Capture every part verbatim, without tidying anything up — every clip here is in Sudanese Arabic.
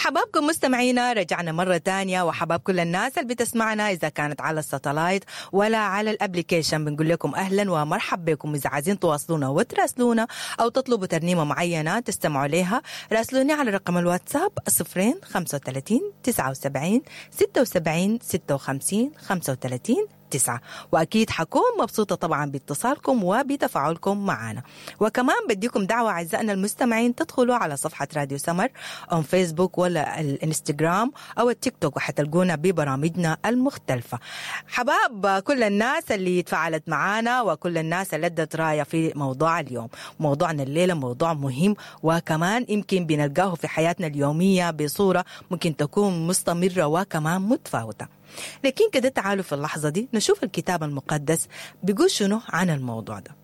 حبابكم مستمعينا، رجعنا مرة تانية، وحباب كل الناس اللي بتسمعنا إذا كانت على ال satellite ولا على ال application. بنقول لكم أهلا ومرحب بكم. إذا عايزين تواصلونا وتراسلونا أو تطلبوا ترنيمة معينة تستمعوا لها، راسلوني على رقم الواتساب صفرين خمسة وثلاثين تسعة وسبعين ستة وسبعين ستة وخمسين خمسة وثلاثين تسعة. وأكيد حكون مبسوطة طبعا باتصالكم وبتفاعلكم معنا. وكمان بديكم دعوة أعزائنا المستمعين تدخلوا على صفحة راديو سمر أو فيسبوك ولا الانستغرام أو التيك توك، وحتلقونا ببرامجنا المختلفة. حباب كل الناس اللي تفاعلت معنا وكل الناس اللي ادت راية في موضوع اليوم. موضوعنا الليلة موضوع مهم، وكمان يمكن بنلقاه في حياتنا اليومية بصورة ممكن تكون مستمرة وكمان متفاوتة. لكن كده تعالوا في اللحظة دي نشوف الكتاب المقدس بيقول شنو عن الموضوع ده.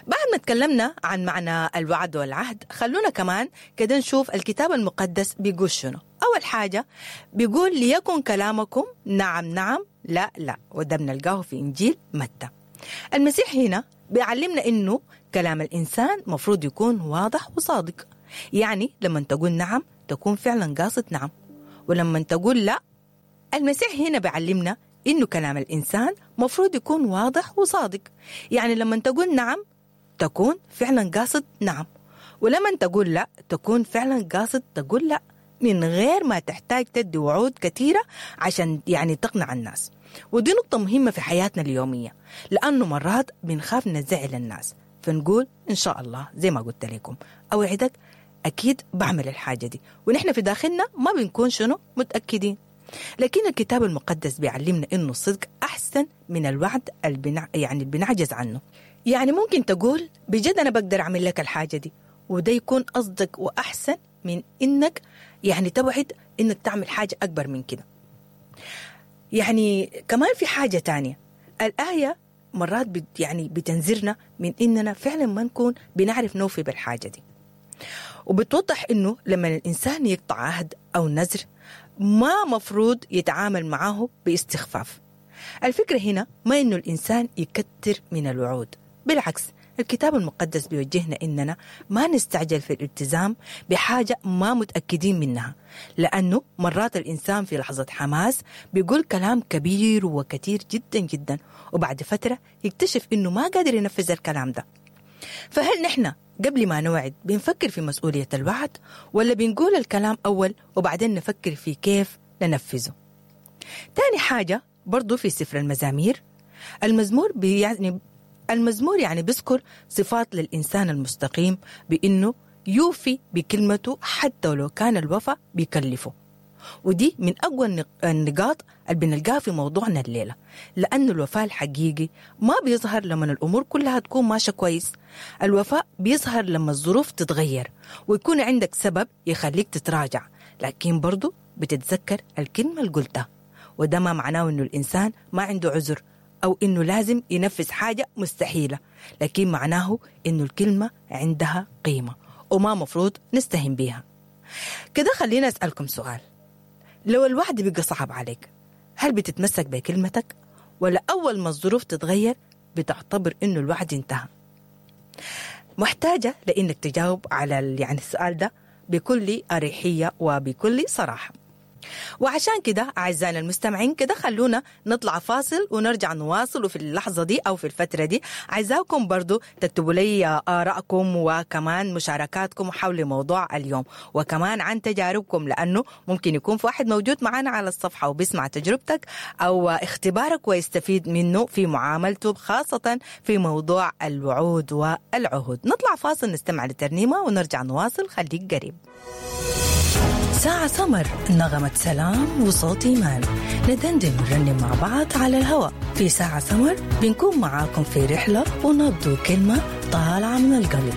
بعد ما تكلمنا عن معنى الوعد والعهد، خلونا كمان كده نشوف الكتاب المقدس بيقول شنو. أول حاجة بيقول ليكن كلامكم نعم نعم لا لا، وده بنلقاه في إنجيل متى. المسيح هنا بيعلمنا إنه كلام الإنسان مفروض يكون واضح وصادق. يعني لما تقول نعم تكون فعلا قاصد نعم، ولما تقول لا. المسيح هنا بيعلمنا إنه كلام الإنسان مفروض يكون واضح وصادق. يعني لما تقول نعم تكون فعلا قاصد نعم، ولما تقول لا تكون فعلا قاصد تقول لا، من غير ما تحتاج تدي وعود كثيرة عشان يعني تقنع الناس. ودي نقطة مهمة في حياتنا اليومية، لأنه مرات بنخاف نزعل الناس فنقول إن شاء الله زي ما قلت لكم أوعدك أكيد بعمل الحاجة دي، ونحن في داخلنا ما بنكون شنو متأكدين. لكن الكتاب المقدس بيعلمنا إنه الصدق أحسن من الوعد البنع... يعني بنعجز عنه. يعني ممكن تقول بجد أنا بقدر أعمل لك الحاجة دي، وده يكون أصدق وأحسن من إنك يعني توعد إنك تعمل حاجة أكبر من كده. يعني كمان في حاجة تانية، الآية مرات بت يعني بتنذرنا من إننا فعلا ما نكون بنعرف نوفي بالحاجة دي، وبتوضح إنه لما الإنسان يقطع عهد أو نذر ما مفروض يتعامل معاه باستخفاف. الفكرة هنا ما إنه الإنسان يكتر من الوعود، بالعكس الكتاب المقدس بيوجهنا إننا ما نستعجل في الالتزام بحاجة ما متأكدين منها، لأنه مرات الإنسان في لحظة حماس بيقول كلام كبير وكثير جدا جدا، وبعد فترة يكتشف إنه ما قادر ينفذ الكلام ده. فهل نحن قبل ما نوعد بنفكر في مسؤولية الوعد، ولا بنقول الكلام أول وبعدين نفكر في كيف ننفذه؟ تاني حاجة برضو في سفر المزامير، المزمور يعني المزمور يعني بيذكر صفات للإنسان المستقيم بأنه يوفي بكلمته حتى ولو كان الوفاء بيكلفه. ودي من أقوى النقاط اللي بنلقاها في موضوعنا الليلة، لأن الوفاء الحقيقي ما بيظهر لما الأمور كلها تكون ماشية كويس. الوفاء بيظهر لما الظروف تتغير ويكون عندك سبب يخليك تتراجع، لكن برضو بتتذكر الكلمة اللي قلتها. وده ما معناه إنه الإنسان ما عنده عذر أو إنه لازم ينفذ حاجة مستحيلة، لكن معناه إنه الكلمة عندها قيمة وما مفروض نستهين بيها. كده خلينا أسألكم سؤال، لو الوعد بقى صعب عليك هل بتتمسك بكلمتك، ولا أول ما الظروف تتغير بتعتبر إنه الوعد انتهى؟ محتاجة لإنك تجاوب على يعني السؤال ده بكل أريحية وبكل صراحة. وعشان كده أعزائنا المستمعين كده خلونا نطلع فاصل ونرجع نواصل. وفي اللحظة دي أو في الفترة دي عايزاكم برضو تكتبوا لي آرائكم وكمان مشاركاتكم حول موضوع اليوم، وكمان عن تجاربكم، لأنه ممكن يكون في واحد موجود معنا على الصفحة وبيسمع تجربتك أو اختبارك ويستفيد منه في معاملته، خاصة في موضوع الوعود والعهود. نطلع فاصل نستمع لترنيمة ونرجع نواصل، خليك قريب. ساعة سمر، نغمة سلام وصوت إيمان، ندندن ونرنم مع بعض على الهواء في ساعة سمر. بنكون معاكم في رحلة ونبض كلمة طالعة من القلب.